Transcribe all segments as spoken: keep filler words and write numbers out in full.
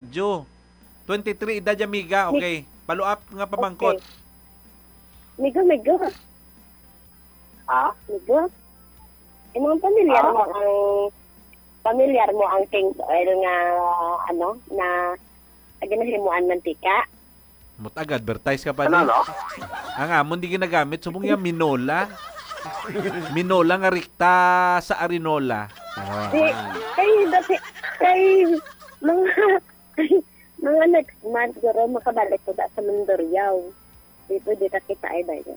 Jo, twenty-three edad ya, miga. Mi- Okay. Follow up nga pamangkot. Okay. Migo, migo. Ah? Migo? Imong pamilyar Ah? mo ang, pamilyar mo ang King's Oil nga, ano, na ginahimuan mantika? Mutag advertise ka pa Ano, ni. no? Ang amon di ginagamit, subong ya minola. Minola nga rikta sa arinola. Oh. Di, kay dati, kay mga, mga next month, guro, makabalik ko da sa Mandurriao. Di pwede ka kita ay dayon.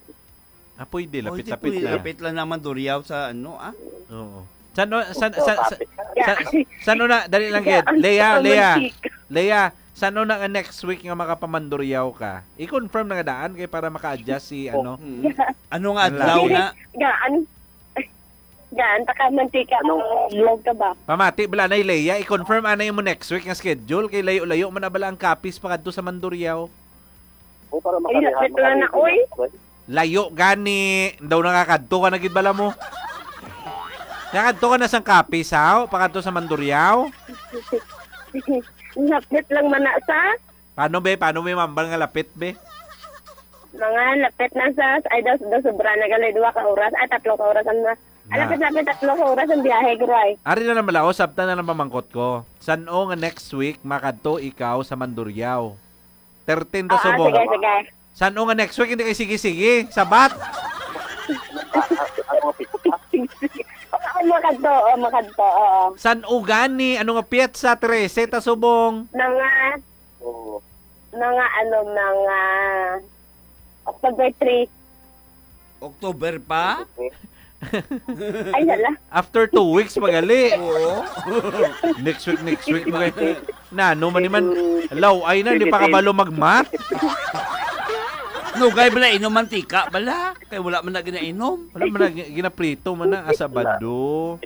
Ah, pwede. Oh, di Lapit-lapit pwede. na. Lapit lang naman Duriao sa ano, ah. Oo. San, san, Oo, san, san, kapit. san, san, san na, dali lang, Kid. Ang Lea, ang Lea. mantika. Lea, san na nga next week nga makapamanduryaw ka? I-confirm na nga daan kay para maka-adjust si, Oh. ano. Mm. Ano nga Ang adlaw lagi. na? Gaan. Gaan, taka mantika. Ano? Vlog ka ba? Pamati, bala na, Lea. I-confirm anay mo next week nga schedule kay layo-layo man na bala ang Capiz pakadto sa Mandurriao. O, para Ay, makarihan, lapit lang na, makarihan oy. ako, eh. Layo gani. Daw nakakadto ka na gid bala mo. Nakadto ka na sang Capiz, haw? Pakadto sa Mandurriao? Lapit lang man na sa? Paano, be? Paano may mambal nga lapit, be? Mga lapit na sa, ay, daw, daw sobra na gali, duha ka oras, ay, tatlo ka oras ang na. Ah, Na. lapit-lapit, tatlo ka oras ang biyahe, guro, ay. Ari na lang bala, o, sabta na lang pamangkot ko. San-o nga next week makadto ikaw sa Mandurriao? Thirteen ta Ah, ah, subong. sige, sige. San-o nga next week, hindi kay sige-sige. Sabat. Ah, ah, ah, mga pizza. Oo, makadto, oo, makadto, oo. San-o gani, ano nga petsa, trese ta subong? Mga, Oo. mga ano, mga October three. October pa? Ay, hala. After two weeks, magali. Oo. Next week, next week, magali. Na, ano man ni man, law, ay na, hindi pa kabalo mag-math. Nugay bala, inom mantika bala. Kay wala man na ginainom. Wala man na gi-, ginaprito man na, asabado.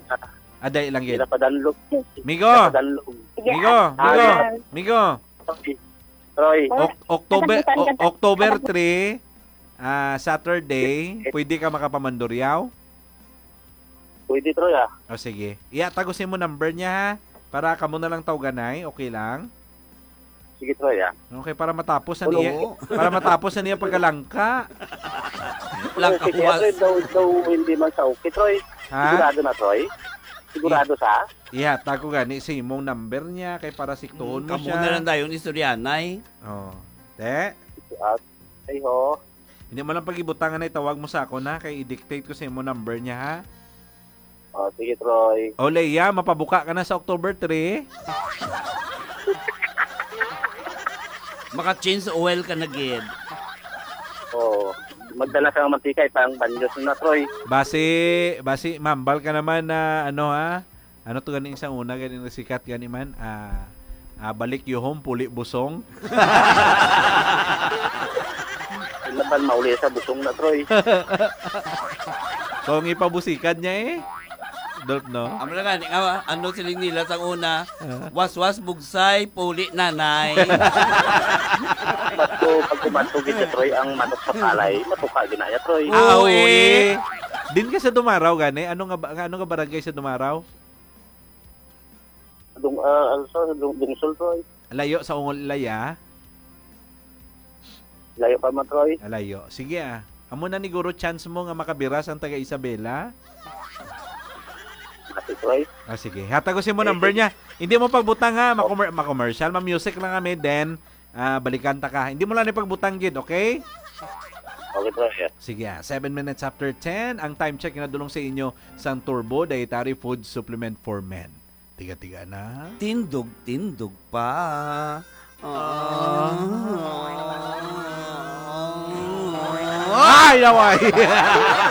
Aday lang gid. Ginapadanlog. Migo. Ginapadanlog. Sige, Migo, ah, migo, ah. migo. Roy. Roy. Oc-, October, Katapusan, o-, kata-, October katapusan. three, ah, Saturday, pwede ka makapamanduryaw? Pwede, Troy, ah. O, sige. Iya, tago sa imo number niya, ha? Para kamo na lang tawganay, okay lang? Sige, Troy, ah. Okay, para matapos na Oo. niya, para matapos na niya pagkalangka. Langka Okay, kaya, huwas. Troy, daw, daw hindi man sa okay, Troy. Ha? Sigurado na, Troy? Sigurado sa? Iya, tago gani sa imong number niya, kay para siktuon Mm, mo kamo siya. na lang dayon istoryanay. Oh. Te? Ah, ay, ho. Hindi mo lang pag-ibutang na itawag mo sa ako na, kay i-dictate ko sa imo number niya, ha? Oh, sige, Troy. O, Leia, mapabuka ka na sa October three? Maka-change oil ka na gid. Oo. Magdala ka ng mantika, ipang banyos na, Troy. Basi, basi, mambal ka naman na, ano, ha? Ano to gani sa una, gani nagsikat gani man? Ah, ah, balik yuhom, puli busong. Laban mauli sa busong na, Troy. Kung ipabusikan niya eh. Don't know. Amo na gani nga, ano siling nila sang una? Ah. Waswas, bugsay, puli, nanay. Bato, pag kumato gid, Troy, ang manok sa palay, matuka ginaya, Troy. Ah, Oo, uy. eh. Din ka sa Dumaraw, gani? Ano nga ba, ano nga barangay sa Dumaraw? Dung-, ah, ano sa Dung-, Dungsol, Troy. Layo sa Ungol, Ilaya? Layo pa man, Troy. Ah, layo. Sige, ah. Amo na ni guro chance mo nga makabira sang taga Isabela. Mati, Troy. Ah, sige. Hatag ko sa imo Eh, number sige. niya. Hindi mo pagbutang, ha. Oh. Makomer-, makomersyal, ma-music lang kami, then, ah, balikan ta ka. Hindi mo lang ni pagbutang gid, okay? Okay, Troy, yeah. Sige, ah. Seven minutes after ten, ang time check nga nadulong sa inyo sang Turbo Dietary Food Supplement for Men. Tiga-tiga na. Tindog-tindog pa. Ah. Ay, laway!